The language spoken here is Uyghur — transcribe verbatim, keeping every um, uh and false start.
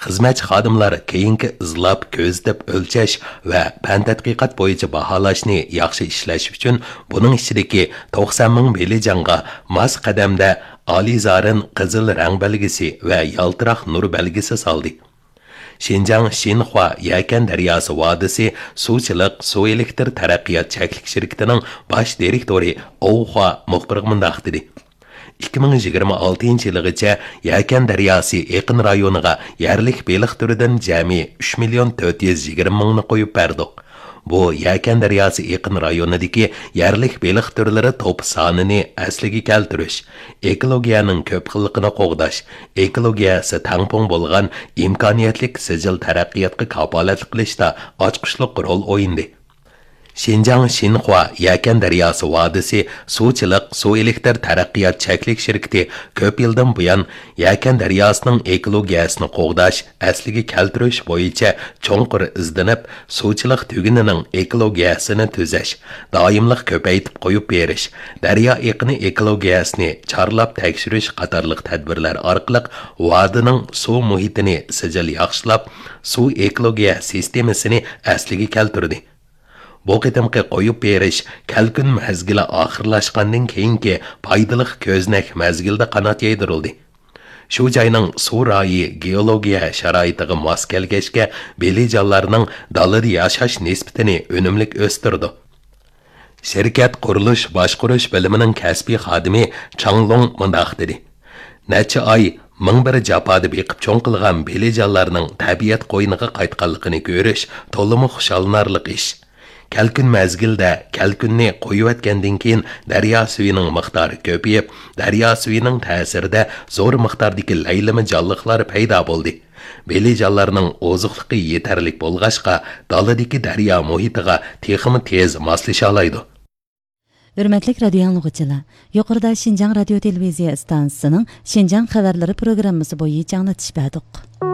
خىزمەتچى خادىملار كېيىنكى ئىزلاپ، كۆزىتىپ ئۆلچەش ۋە پەن تەتقىقات بويىچە باھالاشنى ياخشى ئىشلەش ئۈچۈن، بۇنىڭ ئىچىدىكى توقسان مىڭ بېلىجانغا ماس قەدەمدە ئالىزارىن قىزىل رەڭ بەلگىسى ۋە يالتىراق نۇر بەلگىسى سالدى. شىنجاڭ شىنخۇا يەكەن دەرياسى ۋادىسى سۇچىلىق سۇ ئېلېكتر تەرەققىيات چەكلىك شىركىتىنىڭ باش دىرېكتورى ئوۋ خۇا مۇخبىرغا مۇنداق دېدى: ئىككى مىڭ يىگىرمە ئالتىنچى يىلىغىچە يەكەن دەرياسى ئېقىن رايونىغا يەرلىك بېلىق تۈرىدىن جەمئىي ئۈچ مىليون تۆت يۈز يىگىرمە مىڭنى قويۇپ بەردۇق. بۇ يەكەن دەرياسى ئېقىن رايونىدىكى يەرلىك بېلىق تۈرلىرى توپى سانىنى ئەسلىگە كەلتۈرۈش، ئېكولوگىيەنىڭ كۆپ خىللىقىنى قوغداش، ئېكولوگىيەسى تەڭپۇڭ بولغان ئىمكانىيەتلىك سىجىل تەرەققىياتقا كاپالەتلىك قىلىشتا ئاچقۇچلۇق رول ئوينىدى. شىنجاڭ شىنخۇا يەكەن دەرياسى ۋادىسى سۇچىلىق سۇ ئېلېكتر تەرەققىيات چەكلىك شىركىتى كۆپ يىلدىن بۇيان يەكەن دەرياسىنىڭ ئېكولوگىيەسىنى قوغداش، ئەسلىگە كەلتۈرۈش بويىچە چوڭقۇر ئىزدىنىپ، سۇچىلىق تۈگۈنىنىڭ ئېكولوگىيەسىنى تۈزەش، دائىملىق كۆپەيتىپ قويۇپ بېرىش، دەريا ئېقىنى ئېكولوگىيەسىنى چارلاپ تەكشۈرۈش قاتارلىق تەدبىرلەر ئارقىلىق ۋادىنىڭ سۇ مۇھىتىنى سىجىل ياخشىلاپ، سۇ ئېكولوگىيە سىستېمىسىنى ئەسلىگە كەلتۈردى. بۇ قېتىمقى قويۇپ بېرىش كەلكۈن مەزگىلى ئاخىرلاشقاندىن كېيىنكى پايدىلىق كۆزنەك مەزگىلدە قانات يايدۇرۇلدى. شۇ جاينىڭ سۇ رايى گېئولوگىيە شارائىتىغا ماس كەلگەچكە، بېلىجانلارنىڭ دالىدا ياشاش نىسبىتىنى ئۈنۈملۈك ئۆستۈرىدۇ. شىركەت قۇرۇلۇش باشقۇرۇش بۆلۈمىنىڭ كەسپىي خادىمى چاڭ لوڭ مۇنداق دېدى: نەچچە ئاي، مىڭ بىر جاپادا بېقىپ چوڭ قىلغان بېلىجانلارنىڭ تەبىئەت قوينىغا قايتقانلىقىنى كۆرۈش تولىمۇ خۇشاللىنارلىق ئىش. كەلكۈن مەزگىلدە كەلكۈننى قويۇۋەتكەندىن كېيىن، دەريا سۈيىنىڭ مىقدارى كۆپىيىپ، دەريا سۈيىنىڭ تەسىرىدە زور مىقداردىكى لەيلىمە جانلىقلار پەيدا بولدى. بېلىجانلارنىڭ ئوزۇقلۇقى يېتەرلىك بولغاچقا، دالىدىكى دەريا مۇھىتىغا تېخىمۇ تېز ماسلىشالايدۇ. ھۆرمەتلىك رادىيو ئاڭلىغۇچىلار، يۇقىرىدا شىنجاڭ رادىيو تېلېۋىزىيە ئىستانسىسىنىڭ شىنجاڭ خەۋەرلىرى پروگراممىسى بويىچە ئاڭلىتىش بەردۇق.